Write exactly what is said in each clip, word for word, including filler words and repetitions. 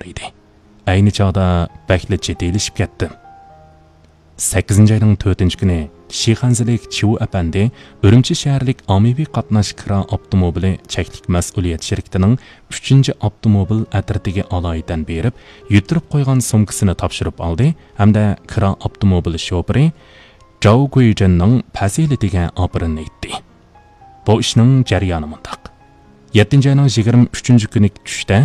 ئىدى. ئەينى چاغدا بەكلا جىددىيلىشىپ كەتتىم. سەككىزىنچى ئاينىڭ تۆتىنچى كۈنى شىخەنزىلىك چيۇ ئەپەندى ئۈرۈمچى شەھەرلىك ئاممىۋى قاتناش كىرا ئاپتوموبىلى چەكلىك مەسئۇلىيەت شىركىتىنىڭ ئۈچىنچى ئاپتوموبىل ئەترىتىگە ئالايىتەن بېرىپ، يۈتتۈرۈپ قويغان سومكىسىنى تاپشۇرۇپ ئالدى ھەمدە كىرا ئاپتوموبىل شوپۇرى جاۋ گۇيجېننىڭ پەزىلىتىگە ئاپىرىن ئېيتتى. بۇ ئىشنىڭ جەريانى مۇنداق. يەتتىنچى ئاينىڭ يىگىرمە ئۈچىنچى كۈنى چۈشتە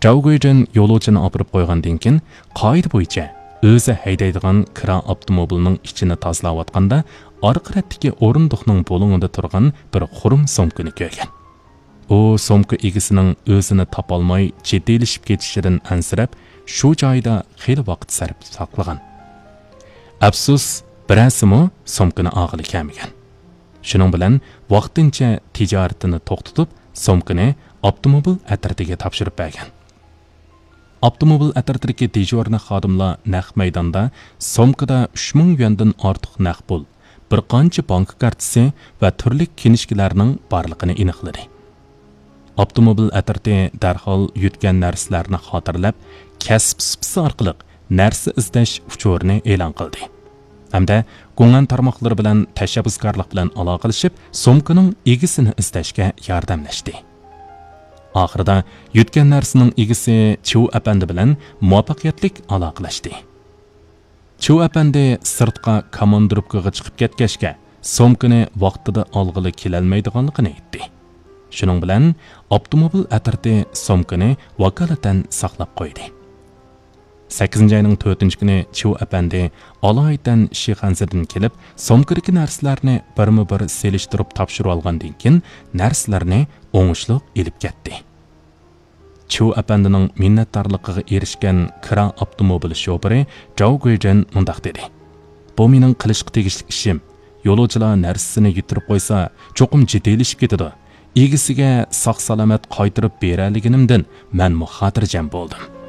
جاۋ گۇيجېن يولۇچىنى ئاپىرىپ قويغاندىن كېيىن، قائىدە بويىچە ئۆزى ھەيدەيدىغان كىرا ئاپتوموبىلنىڭ ئىچىنى تازىلاۋاتقاندا، ئارقا رەتتىكى ئورۇندۇقنىڭ بۇلۇڭىدا تۇرغان بىر خۇرۇم سومكىنى كۆرگەن. ئۇ سومكا ئىگىسىنىڭ ئۆزىنى تاپالماي جىددىيلىشىپ كېتىشىدىن ئەنسىرەپ، شۇ جايدا خېلى ۋاقىت سەرپ ساقلىغان. ئەپسۇس، بىرەرسىمۇ سومكىنى ئالغىلى كەلمىگەن. شۇنىڭ بىلەن ۋاقتىنچە تىجارىتىنى توختىتىپ، سومكىنى ئاپتوموبىل ئەترىتىگە تاپشۇرۇپ بەرگەن. ئاپتوموبىل ئەترىتىدىكى دېژۇرنىي خادىملار نەق مەيداندا سومكىدا ئۈچ مىڭ يۈەندىن ئارتۇق نەق پۇل، بىر قانچە بانكا كارتىسى ۋە تۈرلۈك كىنىشكىلارنىڭ بارلىقىنى ئېنىقلىدى. ئاپتوموبىل ئەترىتى دەرھال يۈتكەن نەرسىلەرنى خاتىرىلەپ، كەسىپ سۇپىسى ئارقىلىق نەرسە ئىزدەش ئۇچۇرىنى ئېلان قىلدى ھەمدە گۇڭئەن تارماقلىرى بىلەن تەشەببۇسكارلىق بىلەن ئالاقىلىشىپ، سومكىنىڭ ئىگىسىنى ئىزدەشكە ياردەملەشتى. ئاخىرىدا يۈتكەن نەرسىنىڭ ئىگىسى چيۇ ئەپەندى بىلەن مۇۋەپپەقىيەتلىك ئالاقىلەشتى. چيۇ ئەپەندى سىرتقا كاماندىروپكىغا چىقىپ كەتكەچكە، سومكىنى ۋاقتىدا ئالغىلى كېلەلمەيدىغانلىقىنى ئېيتتى. شۇنىڭ بىلەن ئاپتوموبىل ئەترىتى سومكىنى ۋاكالىتەن ساقلاپ قويدى. سەككىزىنچى ئاينىڭ تۆتىنچى كۈنى چيۇ ئەپەندى ئالايىتەن شىخەنزىدىن كېلىپ، سومكىدىكى نەرسىلەرنى بىرمۇ بىر سېلىشتۇرۇپ تاپشۇرۇۋالغاندىن كېيىن، نەرسىلەرنى ئوڭۇشلۇق ئېلىپ كەتتى. چيۇ ئەپەندىنىڭ مىننەتدارلىقىغا ئېرىشكەن كىرا ئاپتوموبىل شوپۇرى جاۋ گۇيجېن مۇنداق دېدى: «بۇ مېنىڭ قىلىشقا تېگىشلىك ئىشىم. يولۇچىلار نەرسىسىنى يۈتتۈرۈپ قويسا، چوقۇم جىددىيلىشىپ كېتىدۇ. ئىگىسىگە ساق-سالامەت قايتۇرۇپ بېرەلىگىنىمدىن مەنمۇ خاتىرجەم بولدۇم.»